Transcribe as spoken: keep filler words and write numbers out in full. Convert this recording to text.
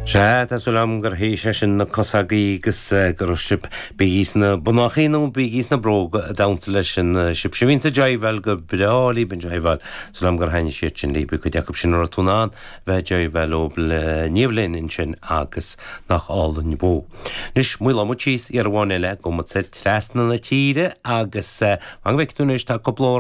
Sea tá súil agam gur théis sin na cosa agus go sib bí na bunachaí nó bí na bróga a damhsa leis sin sib si bhíonn sa jiveáil go breá libh an jiveáil súil agam gur thaitnigh siad sin libh cuid acu sin tú ná bheith jiveáil ó le níomhlinn sin agus nach álainn bó. Anois maolóidh muid síos ar amháin eile go trasna na tíre agus an bheic túis tá cúpla